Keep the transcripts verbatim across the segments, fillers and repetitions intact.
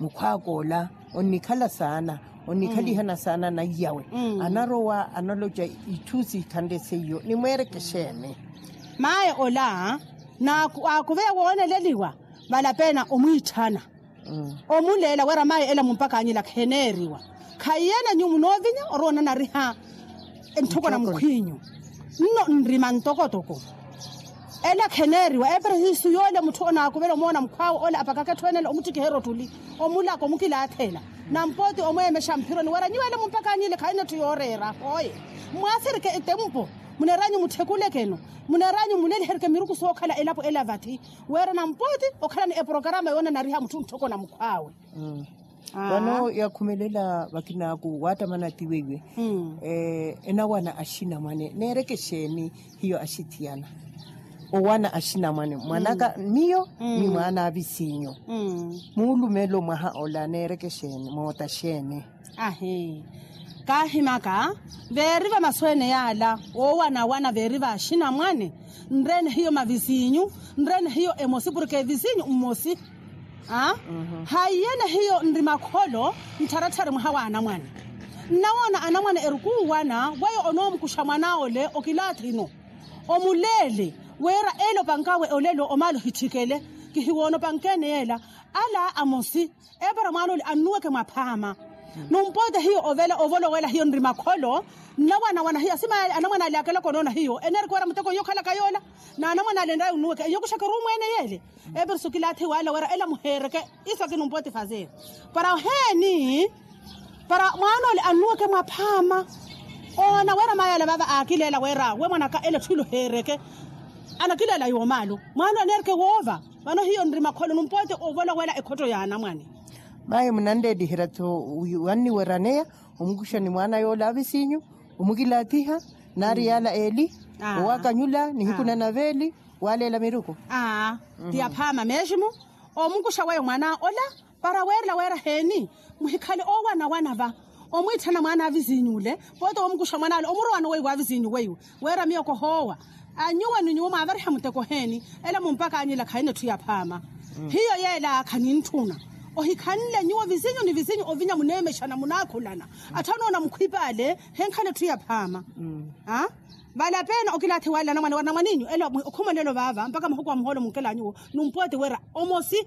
Mukhw'aka ola onnikhala saana, onnikhalihana saana na iyawe. Anarowa analoca itthu sikhanle seiyo nimweereke xeeni? Maye ola aakuveya wooneleliwa, valapeena omwiitthana, omuleela wira maye ela mumpakanyela kheneeriwa. Khaiyena nyuwo munoovinya orowa onanariha nttoko na mukhw'inyu. Nno nrima ntokotoko ela kheneeriwa eperehisu yoole mutthu onaakuvela omoona mukhw'awe ola apakaka etthu enela omuttikiherya ottuli, omulaka omukilaathela, nampooti omweemexa mphironi wira nyuwo ela mumpakanyile khaina etthu yooreera hooye. Mmwaasirike ettempo, muneeranyu mutthikulekeno, muneeranyu muleliherike miruku sookhala elapo ela vatthi, wira nampooti okhalani eporokarama yoonanariha mutthu ntthoko na mukhw'awe. Vano yakhumelela vakinaaku waattamana ti weiwe enawana axinamwane neereke xeeni? Hiyo axithiyana owana axinamwane mwan'aka miyo ni mwaana a visinyu, muulumelo mwaha ola neereke xeeni moota xeeni? Ahi, kaahimaka veeri va masu ene yaala woowanawana veeri va axinamwane, nreene hiyo mavisinyu, nreene hiyo emosi porke visinyu mmosi. Haiyene hiyo nri makholo nttharatthari mwaha wa anamwane. Nnawoona anamwane erukuuwana weyo onoomukuxa mwan'awe ole okilaathi-no, omuleele wira ele opank'awe olelo omaale ohitthikele. Kihiwoona opank'ene yeela ala amosi epara mwaana ole annuweke mwaphaama. Numpote hiyo ovela ovolowela hiyo nri makholo. Nnawana wana hiyo asima ale anamwana ale akelaka onoona hiyo enerike wira muteko hiyo okhalaka yoola. Na anamwana ale nrayi onnuweke eyo kuxaka orumweene yeele. Epara sukilaathe wala wira ela muheereke. Iso aki numpote fazeeri para oheeni para mwaana ole annuweke mwaphaama. Oona wira mayi ale vava aakileela wira we mwanaka ela etthu ila oheereke anakileela yoomaalu. Mwaana ole aneereke woova. Vano hiyo nri makholo numpote ovolowela ekhotto ya anamwane. Mayi munanleeliherya-tho wanniweraneya omukuxa ni mwaana yoola avisinyu omukilaathiha naari yaala eeli owaakanyula nihiku nanaveeli waaleela miruku. Aa ti aphaama meximu omukuxa weyo mwaana ola para weerela weera heeni? Muhikhale oowanawana va omwiitthana mwaana avisinyu ole pooti omukuxa mwaana ole omurowa noweyi wa avisinyu weiwe weera miyo kohoowa. Anyuwe ni nyuwo mwaavariha muteko heeni? Ela mumpakanyela khaina etthu ya phaama. Hiyo yeela khanintthuna ohikhanle nyuwo visinyu ni visinyu ovinya muneemexana munaakhulana. Atthu anoona mukhwipa ale henkhala etthu ya phaama. Vale apeena okilaathi wale anamwane wari namwaninyu ela okhumelelo vaava mpakha mahuku a muhoolo munkela nyuwo. Numpooti wira omosi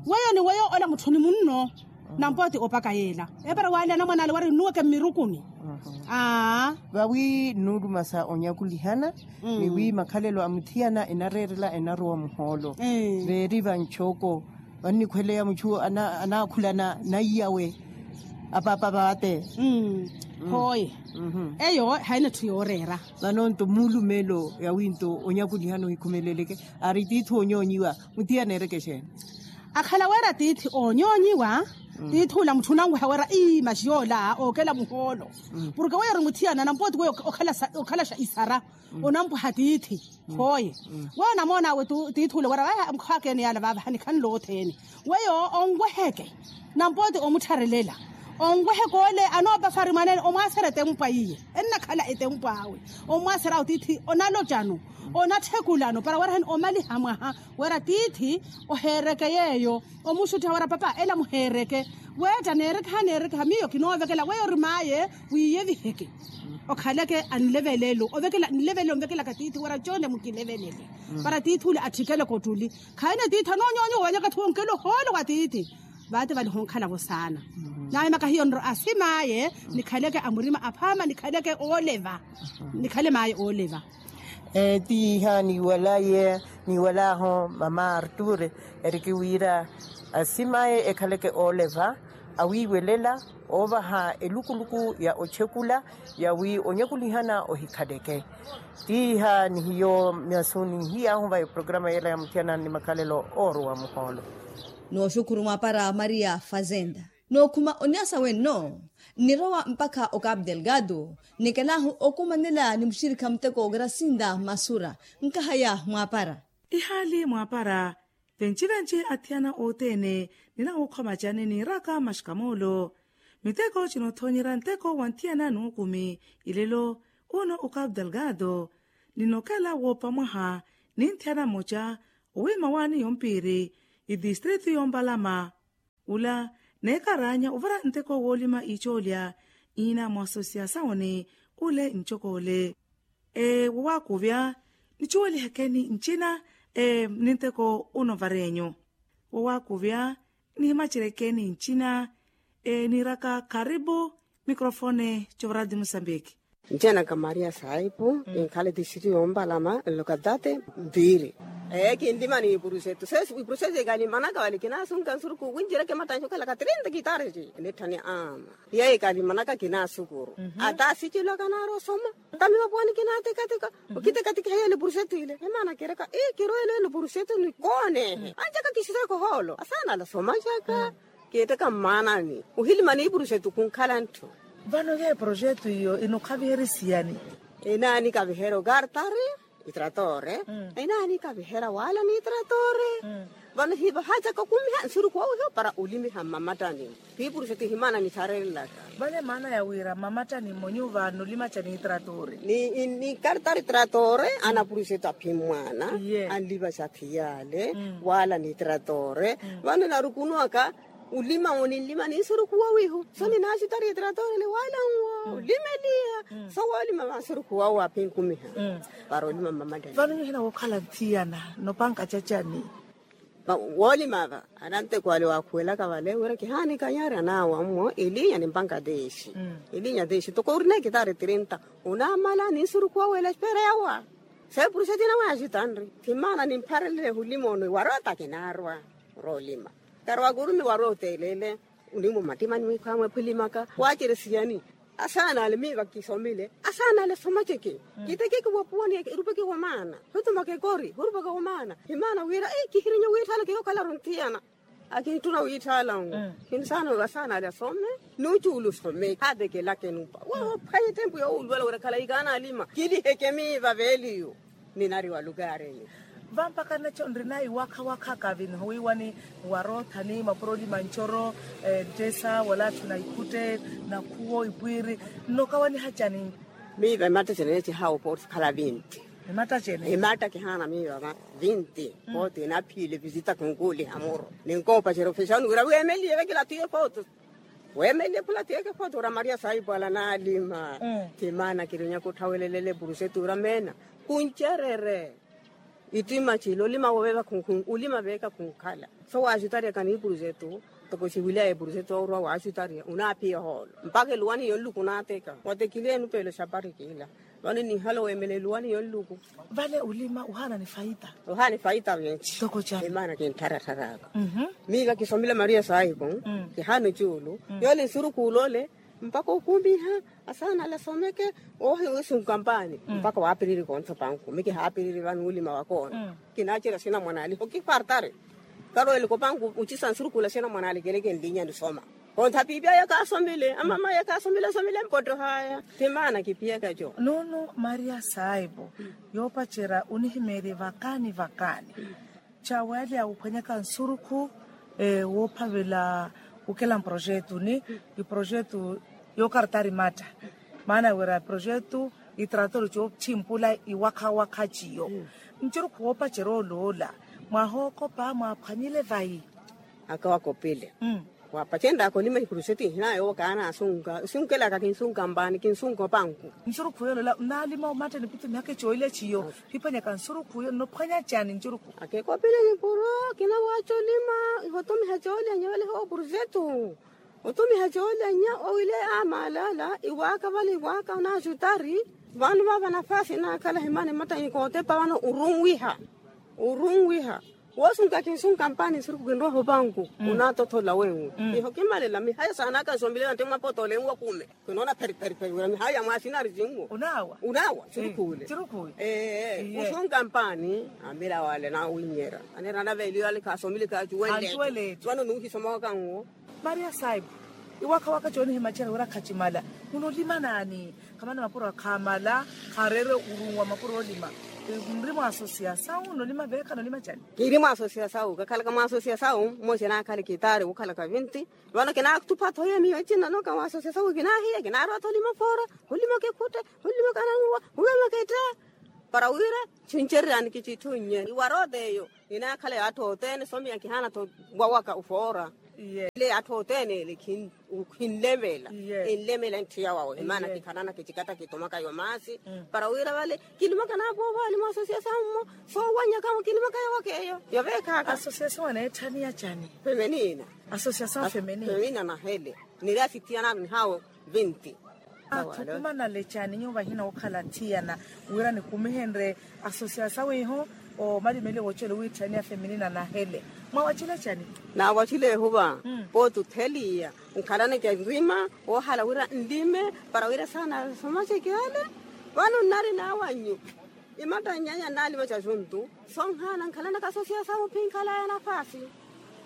weyo ni weyo ola mutthu ni munno. Nampooti opaka yeela epara wale anamwane ale wari nnuweke mmirukuni. Aa vawi nnuulumasa onyakulihana ni wi makhalelo a muthiyana enareerela enarowa muhoolo. Veeri vanchooko vannikhweleya muchu anaakhulana naiyawe apaapa vaate. Hooye eyo haina etthu yooreera. Vano nto muulumelo yawi nto onyakulihana ohikhumeleleke ari tiithi oonyoonyiwa muthiyana ereke exeeni? Akhala wira tiithi oonyoonyiwa tiithi ula mutthu onanweha wira ii maxi yoola ookela muhoolo. Porke weyo ori muthiyana nampooti weyo okhalaxa isara onampwaha tiithi. Hooye weyo onamoon'awe tiithi ule wira vahi mukhwaakene yaala vaavaha nikhanle othene weyo onweheke nampooti omuttharelela onweheke ole anoopafari mwaneene omwaasera etempwa iye ennakhala etempwa awe. Omwaasera awe tiithi onalocano onatthekulano para werahani omaliha mwaha wira tiithi oheereke yeeyo. Omuxuttiha wira papa ela muheereke weetta neerekeha neerekeha miyo kinoovekela weyo ori maaye wiiyeviheke okhaleke anlevelelo ovekela nlevelelo onvekelaka tiithi wira coone mukilevelele para tiithi ule atthikeleke ottuli. Khaina tiithi anoonyoonyiwa owenyaka etthu wonkela ohoolo wa tiithi vaate vale honkhalavo saana. Naahimaka hiyo nro asimaaye nikhaleke a murima aphaama nikhaleke ooleva nikhale maaye ooleva. Tiiha niiwalaye niiwalaaho mama arture eriki wira asimaaye ekhaleke ooleva awiiwelela oovaha elukuluku ya ochekula yawi onyakulihana ohikhaleke. Tiiha ni hiyo myasu ninhiy'ahu va eprograma yeela ya muthiyana ni makhalelo oorowa muhoolo. Nooxukhuru mwaapara maria fazenda nookhuma onyasa wenno nnirowa mpakha okapu delgado. Nikelahu okumanela ni muxirikha muteko grasinda masura nkahaya mwaapara. Ihaali mwaapara venci-venci athiyana othene ninawukhwa macani niiraka maxikamoolo. Miteko cinothoonyerya nteko wa nthiyana nuukumi ilelo uno okapu delgado. Ninokela woopa mwaha ni nthiyana mmoca owiima waani yompiiri itistritu yompalama. Ula neekaraanya ovara nteko woolima icoolya iina mwasosia sawoni. Ule ncokole. Wowakuvya nicuwelihekeni ncina. Ni nteko uno varenyu wowakuvya nihimacerekeni ncina. Niiraka karipu mikrofone covaradi musambiki. Ncina ka maria saipu kinkhala ti sitiyo mpalama nlokatati. Mpiiri ee kinlima ni ipurusetu se ipurusetu ikalimanaka wali kinasunka nsuruku winjireke matanxi okhalaka trinta kitareti nitthani ama. Yeyo ikalimanaka kinasukuru ata sicilwaka naari osoma. Tamivapuwani kinatikatika okitikatika heyo lipurusetu ile emana kireka ii kirwele lipurusetu nikoonehe anjaka kixiseko hoolo asanala somacaka. Kiiteka mmaanani ohilima niipurusetu kunkhala ntthu. Vano yeyo projetu iyo inokhaviherisiyani? Inaani kaviherya okartari itratore. Inaani kaviherya wala ni itratore. Vano hivahaacaka okumiha nsuruku wawiho para olimiha mmamattani. Piipurusetu ihimana nitharelelaka. Vale maana ya wira mmamattani mmonyu vanolima ca ni itratore ni kartari itratore. Anapurusetu aphimmwana anlivaxa phiyale wala ni itratore. Vano narukunuwaka olima oninlima ni nsuruku wawiho so ninaxutari itratore ni wala nwo olimeliya. So wolima va nsuruku wawo aphinkumiha para olima mmamattani. Vano nyuhina wokhala nthiyana nopanka cacani. Woolima va ananteko ale waakhuwelaka vale wira kihaanikanyarya naawa mmo elinya ni mpanka teexi. Elinya teexi toko orina ekitaari trinta onamala ni nsuruku wawe ela espera yawa. Saipuru satina waaxitanri thimmana nimpharelele hulima ono iwarota kinaarwa. Roolima karwa kurumi warota eleele. Onimwa omattimani mwikhwamwe phulimaka waaceresiyani. Asaana ale miiva kisomile asaana ale somaceke. Kitekeke wapuwani erupeke wa maana hutumaka ekori hurupaka wa maana. Himaana wira kihirinya wiitthaala kihokhalaru nthiyana. Akintthuna wiitthaala nwo. Kinsaana asaana ale asome nucuula osome haatekelaka enupa. Woophwanya ettempu yoowuluwela wira khala ikaana alima kiliheke miiva veeliyo. Ninari wa lukaarini. Vampakha nacho nrina iwakha wakha kavi nihowiiwani. Warothani mapuro olima ncoro ntesa wala atthu na ikhutte nakhuwo ipwiiri. Nnokawaniha cani? Miiva emattacene neecihawa opootti khala vinti. Emattacene ematta kihaana miiva va vinti. Pootti naphiile visita kinkuuliha muro ninkoopacerya ofexauni wira weemeliye vekila tiye pootti. Weemeliye phula tiyeke photo ora maria saipwala naalima. Ti maana kirinyaka otthawelelele purusetu ora meena kuncerere. Ittima cila olima woveeva khunkhun olima veeka khunkhala. So waaxutaryaka ni purusetu toko xiwilaya epurusetu orwa waaxutarya onaaphiya ohoolo mpakha eluwani yonluku onaateka watekiliye enupeelo xapari kiila. Vano ninhala oweemela eluwani yonluku. Vale olima ohaana ni faita. Ohaana ni faita vinci. Toko cani? Emaana kinttharattharaka. Miiva kisomile maria saipu kihaana ocuulu yoole nsurukhu ole mpakha okumiha asaana ale asomeke. Oohi wiisunka mpaani mpakha waapiriri kontha panku mi kihaapiriri vano olima wakoona. Kinaacerya sinamwanaali hokipartari. Karweleke opanku ocisa nsurukhu ole sinamwanaali kele kinlinya nisoma. Kontha piipi aya kaasomile amama aya kaasomile asomile mpottoha aya. Ti maana kiphiyaka eco. Nuunu maria saipu yoopacerya onihimeerye vakaani vakaani. Cawe ale awuphwanyaka nsurukhu woophavela okela mprojetu ni iprojetu yookartari matta. Maana wira projetu itratori coothimpula iwakha wakha ciyo. Ncurukhu woopacerya oloola mwaha ookopa mwaaphwanyile vayi? Aka wakopile. Waapacenryaka olima ipurusetu ihina yoowo kaana asunka osunkelaka kinsunka mpaani kinsunka opanku. Ncurukhu yolola nnaalima omatta nipittu mihaka ecoolya ciyo. Phiphwanyaka nsurukhu yo nnophwanya cani ncurukhu? Akekopile nipuro kinawaaca olima ihotumiha coolya nyevale hoopurusetu. Otumiha coolya nya owile amalala iwaaka vale iwaaka onaaxutari. Vano vaava nafasi naakhala himani mattani kootepa vano orunwiha. Orunwiha woosunka kinsunka mpaani nsurukhu kinrowa hopanku. Onaatothola wenwi iho kimalela mihaya saanaka nsomilela nti mwapotoole enwi wakume. Kinoona pheripheripheri wira mihaya mwaasinari sinwo. Onaawa onaawa nsurukhu ole. Ee osunka mpaani amira wale nawinyera anera anaveeliyo ale khaasomile kaacuwele. Vano nuuhisomowaka nwo. Maria saipu iwakha waka coonihimacerya wira khacimala. Munolima naani? Khamana mapuro akhaamala. Khaareere orunwa mapuro olima. Nri mwa asosiyasawu nolima veeka nolima cani? Kiri mwa asosiyasawu kakhalaka mwa asosiyasawu. Mmoja naakhale kitaari wokhalaka vinti. Vano kinaatupha tho ye miyo ecina noka mwa asosiyasawu kinaahiya kinaarwa tho olima foora. Olima kekhutte olima kananwa olima ketta. Para wira cincereryani kicitthu nye iwaroota eyo. Inaakhala yaatthu othene somiya kihaana tho wawaka ofoora. Atthu othene ele khinlemela. Enlemela enthiya wawe maana kikhalana kichikata kitumaka yo maasi para wira vale kilimaka naapoovaali mwa asosiyasawu mmo. Soowanyaka mwo kilimaka yowaka eyo yoveekhaaka. Asosiyasawu aneetthaniya cani? Femenina. Asosiyasawu femenina nahele niri asithiyana nihawo vinti. Athukumanale cani nyuwo vahina wookhala athiyana wira nikumihenrye asosiyasawu iho omalimeliwa woocela owiitthaniya femenina nahele? Mwaawacile cani? Naawacile ehuva pooti otheliya nkhalaneke nrima woohala wira nlime para wira saana somaceke ale. Vano nnari naawannyu imatta nnyanya nnalimaca juntu sonhaana nkhalanaka asosiyasawu phi nkhalaya nafaasi.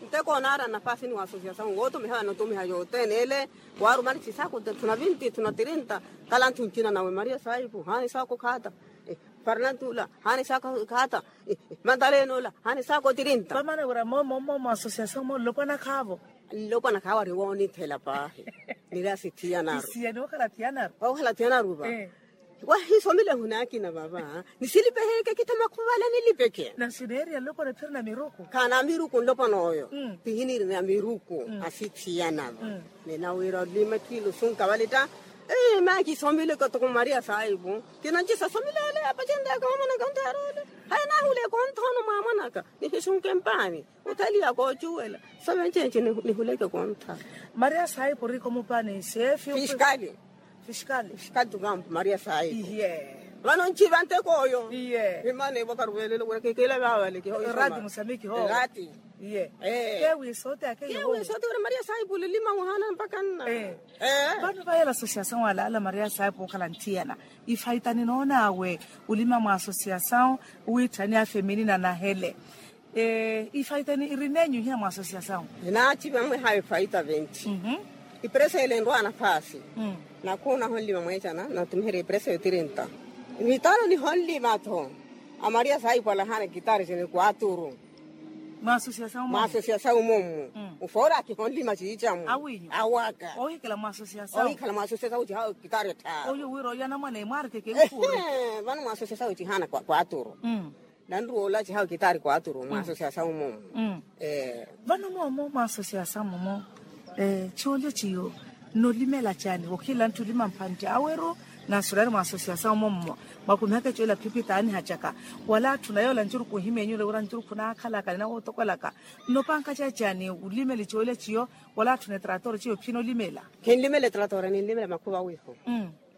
Nteko onaara nafaasi ni wa asosiyasawu wootumiha vano otumiha yothene ele waarumani chisaku tthuna vinti tthuna tirinta kala nthu ncina nawe maria saipu haani saku khaata. Farnantula haani saku khaata. Mantalenola haani saku tirinta. Vamana wira momo mmomo asosiyasawu mmo nlopwana khaavo. Nlopwana khaavo ari woonithela paahi. Niri asithiyanaru. Isiyani wookhala thiyanaru. Wookhala thiyanaru va. Wahisomile ehuna akina vava nisilipeheke kittha makhuvale nilipeke. Nasi neeriya nlopwana phiri na miruku khaana miruku nlopwana oyo. Pihiniri na miruku asithiyana va. Ninawiira olima kilusunka vale ta. Maaki isomile katoko maria saipu kinancisa somile ale apacenrya kawamanaka ontaarole. Haya nahule konthono mwamanaka nihisunke mpaani. Othaliya koocuwela sove ncenci nihuleke kontha. Maria saipu orikho mupaani sefi fiskali. Fiskali tukampu maria saipu. Vano nciva nteko oyo. Imana evwakaruvelelo wira kekela vavale kiho. Rati musamiki ho. Rati. Kewi sote ake kewi sote wira maria saipu lilima muhana mpaka nna. Vano vayela asosiyasawu alaala maria saipu okhala nthiyana ifaita ninoon'awe olima mwa asosiyasawu owiitthaniya femenina nahele. Ifaita iri nenyu ihiya mwa asosiyasawu? Ninaaciva mwiha ifaita venti. Ipreso ele enrwa nafaasi. Nakhuuna honlima mweecana natumiherya ipreso yo tirinta. Nitano nihonlima-tho. Amaria saipu alahaana ekitari cini kwaturu. Mwa asosiyasawu mwa asosiyasawu mommu. Ufoora akihonlima ciicamu awinyu awaka ohikhala mwa asosiyasawu ohikhala mwa asosiyasawu cihawa ekitari ettharu oyu wira oyanamwana emwarikeke. Vano mwa asosiyasawu cihaana kwaturu. Nanruwa olaci hawe kitaari kwaturu mwa asosiyasawu momo. Vano momo mwa asosiyasawu momo coolya ciyo nolimela cani wokhila ntthi olima mphantte aweru? Nasulani mwa asosiyasawu momo mwakumihaka coolya phiphi taanihacaka wala atthu naye ola ncuruku nhimeenyule wira ncuruku naakhalaka ninawotokwelaka. Nnopankaca cani olimeli coolya ciyo wala atthu netrator ciyo phi nolimela? Khinlimela etrator ninlimela makhuva awiiho.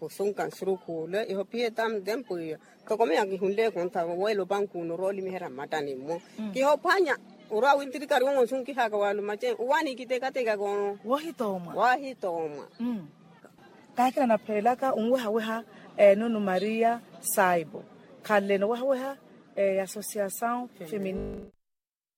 Osunka nsurukhu ole iho phiye tamu tempu iyo. Toko miyo akihunle ekontha weela opanku uno orwa olimiherya mmattani mmo. Kihophwanya orwa wintirikari wongo nsunkihaka walumace uwani kitekateka ko. Woohitoomwa woohitoomwa. Kaakina naphelaka onwehaweha nunu maria saibo khanle nowehaweha asosiyasawu feminina.